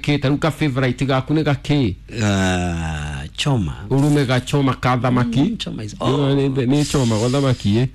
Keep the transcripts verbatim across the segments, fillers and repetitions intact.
kĩ ta rĩu ka favorite gaku nĩ gakĩ? Ah, choma. Urume gachoma ka thamaki. Mm, choma is- oh. Nĩ choma gwa thamaki ĩ.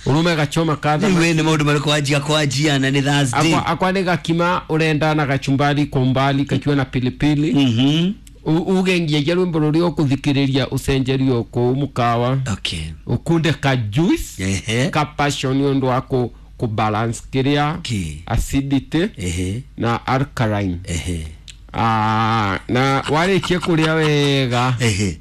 Urume gachoma ka Rĩu thamaki. we nĩ maũndũ marĩkũ wanjia kwanjia na nĩ Thursday? Akwa, akwa nĩ gakima ũrenda na gachumbari kwa umbali kakiwa na pilipili. Mhm. U- uge ngiagia rwĩmbo rũrĩa ũkũthikĩrĩria ũcenjerio kũu mũkawa. Okay. Ukunde ka juice Ehe. ka passion nĩ ũndũ wa kũ kũ balance kĩrĩa Okay. acidity Ehe. na alkaline. Ehe. Ah, na warĩkia kũrĩa wega, Ehe.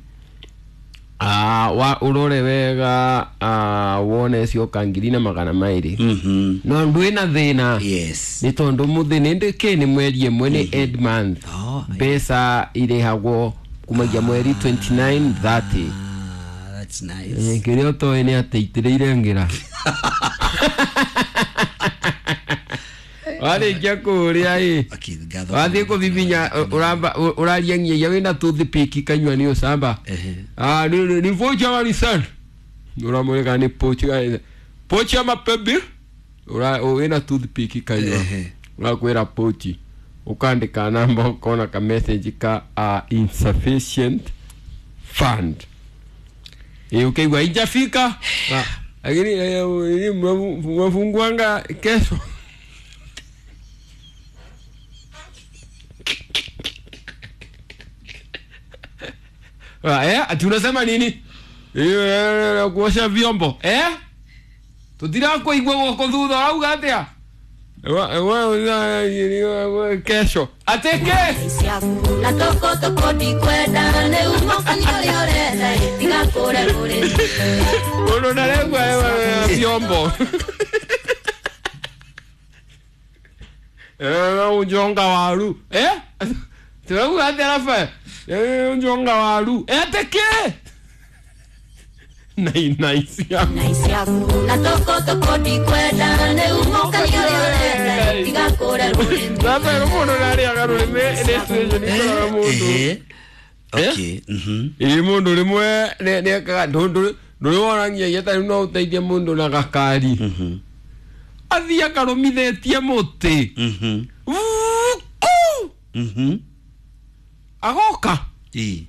ah, wa ũrore wega, ah, wone cioka ngiri na magana maĩrĩ. Mhm. No ndwĩ na thĩna Yes. nĩ tondũ mũthĩ nĩ ndĩkĩ nĩ mweri ĩmwe, nĩ end month. Oh, Mbeca irĩhagwo kumagia mweri twenty-nine, thirty. Ah, that's nice. Kĩrĩa ũtoĩ nĩ atĩ itĩrĩire ngĩra warĩkia kũrĩa ĩ. Okay, ngatho. Wathiĩ kũbibinya ũramba ũraria nginya wĩna toothpick kanyua nĩ ũcamba. Ehe. Ah, ni ni pochi ama ni sand uramweka ni pochi pochi ama pebi ura wĩna toothpick kanyua. Ehe. Urakwĩra pochi, ukandika namba, ukona ka message ka uh, insufficient fund. Ĩ ukaigua ijafika. Na, lakini eh, eh, mnafunguanga kesho. Ah, eh, ati unasema nini? Eh, eh, kuosha vyombo eh tutirakuigua guoko thutha urauga atia? Wa- wa- wa- kesho ateke na toko toko ndikwenda nĩ umokani ũrĩa ũrenda tiga kũre rũrĩmĩ. Mundu ndaregua vyombo. Eh, unjonga waru eh turauga atia Rafael? Eh, unjonga waru eh ateke nai nai siaku. Na toko toko ndikwenda nĩ umokani ũrĩa ũrenda tiga kũre rũrĩmĩ. Rafael, mundu ndarĩaga rũrĩmĩ nĩ situation ikoraga mundu. Ehe. Okay. Mhm. Ĩ mundu rĩmwe nĩ nĩekaga ndũrĩ wona nginyagia ta rĩu no ũteithie mundu na gakari Mhm. athiĩ akarũmithĩtie mũtĩ. Mhm. Vuku! Mhm. Agoka Ĩ.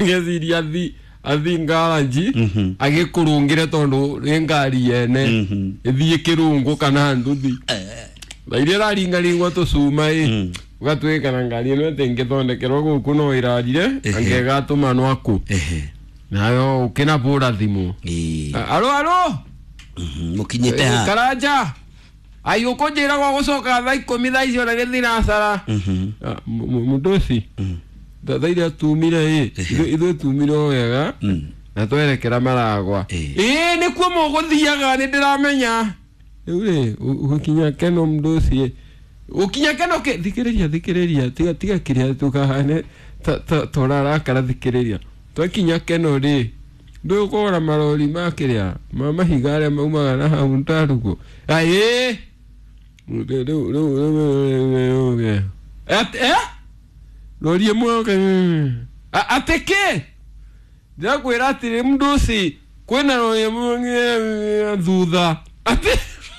ageciria athi athi ngaranji Mhm. agĩkũrũngĩre tondũ nĩ ngari yene Mhm. ĩthiĩ kĩrũngũ kana nduthi Eh. na iria ĩraringaringwo tũcuma ĩ Mm. ũgatuĩka na ngari ĩno ĩtĩngĩthondekerwo gũkũ no ĩrarire Ehe. angĩgatũmanwo akũ Ehe. nayo ũkĩnabũra thimũ. Ĩ. Aro aro. Mhm. Mũkinyĩte ha? Karanja ai ũkũnjĩra gwa gũcoka thaa ikũmi thaa icio na nĩ thinacara. Mhm. Mũndũ thaa iria tumire ĩ ithuĩ tumire o wega Mm. na twerekera Maragwa. Ĩ. Ĩ nĩkuo mũgũthiaga nĩ ndĩramenya rĩu rĩ ũgũkinya keno mũndũ ũcio ũkinya keno kĩ thikĩrĩria thikĩrĩria tiga tiga kĩrĩa tũkahane tũrarakara thikĩrĩria twakinya keno rĩ ndũĩ ũkũgũra marori ma kĩrĩa ma mahiga arĩa maumaga na hau ntarugo aĩ rĩu rĩu rĩu rĩu eh rori ĩmwe atĩ kĩ ndĩrakwĩra atĩrĩ mũndũ ũci kwĩna rori ĩmwe thutha atĩ